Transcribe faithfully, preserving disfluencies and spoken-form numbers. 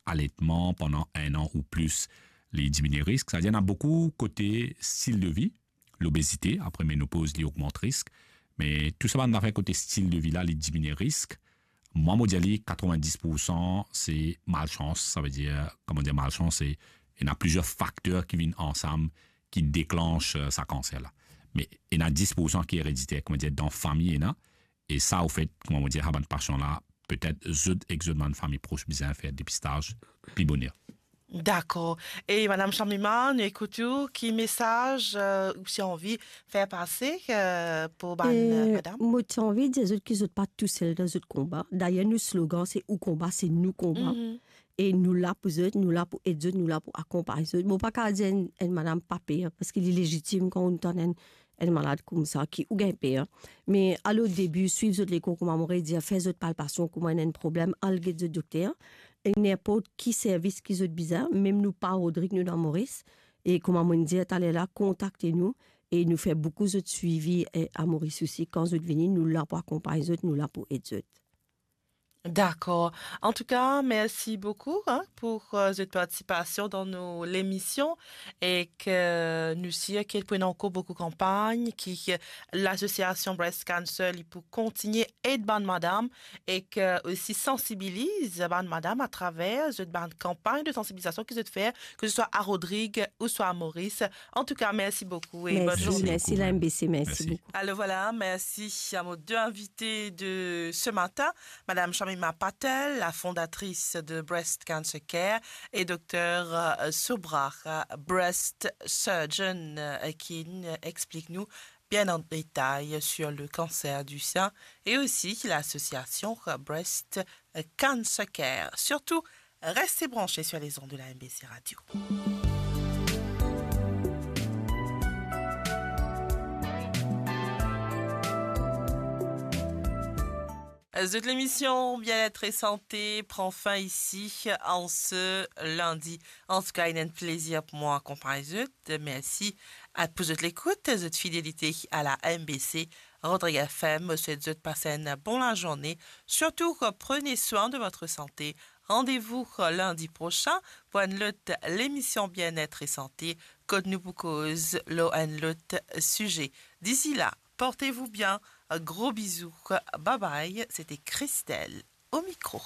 aletman pandan enn an ou plis, li diminie risk. Savedir, ena boukou kote stil de vi, lobezite, apre menopoz, li ogmant risk. Me tou sa bann zafer kote stil de vi la, li diminie risk. Mwa, mo dir li, katrevin-dis poursan se malsans. Savedir, kouma dir malsans, se, ena plizier fakter ki vinn ansam, ki deklans, eh, sa kanser la. Me ena dis poursan ki erediter, kouma dir, dan fami ena, e sa, anfet, kouma mo dir, sa bann pasian la, petet zot ek zot bann fami pros bizin fer depistaz pli boner. Dakor. E Madam Shamima, nou ekout ou, ki mesaz, eh, ou ti anvi fer pase, eh, pou bann, eh, madam? Mo ti anvi dir zot ki zot pa tousel dan zot konba. Dayer, nou slogan, se ou konba, se nou konba. Mhm. E nou la pou zot, nou la pou ed zot, nou la pou akonpagn zot. Mo pa kav dir enn, enn madam pa per, parski li lezitim kan ou tann enn, enn malad koumsa ki ou gagn per. Me al o debi, swiv zot lekor, kouma mo redir, fer zot palpasion, kouma ena enn problem, al get zot dokter. E ninport ki servis ki zot bizin, mem nou pa Rodrig, nou dan Moris. E kouma mo dir taler la, kontakte nou e nou fer boukou zot swivi, eh, a Moris osi. Kan zot vini, nou la pou akonpagn zot, nou la pou ed zot. Dakor. Antouka, mersi boukou, hein, pou, eh, zot partisipasion dan nou lemision, e ke nou sir ki pou ena ankor boukou kanpagn ki, eh, lasosiasion Breast Cancer, li pou kontigne ed bann madam e ke osi sansibiliz bann madam atraver zot bann kanpagn de sansibilizasion ki zot fer, ke se swa a Rodrig ou swa a Moris. Antouka, mersi boukou e bonn zourne. Mersi, mersi, la M B C, mersi boukou. Alor vwala, mersi a mo de invite de se matin, Madam Shamima Patel, la fondatris de Breast Cancer Care, e Dokter, eh, Subra, eh, breast surgeon, eh, ki, eh, explik nou bien en détail sur le cancer du sein et aussi l'association Breast Cancer Care. Surtout, restez branchés sur les ondes de la M B C Radio. Zot lemision Bien-être et Santé pran fin isi an se lindi. Antouka, inn enn plezir pou mwa akonpagn zot. Mersi a, pou zot lekout, zot fidelite a la M B C Rodrig F M. Mo swet zot pas enn bon lazourne. Surtout, prenez soin de votre santé. Rendez-vous lundi prochain pour enn lot lemision Bien-être et Santé, kot nou pou koz lor enn lot size. D'ici là, portez-vous bien. Gros bisous. Bye bye. C'était Christelle au micro.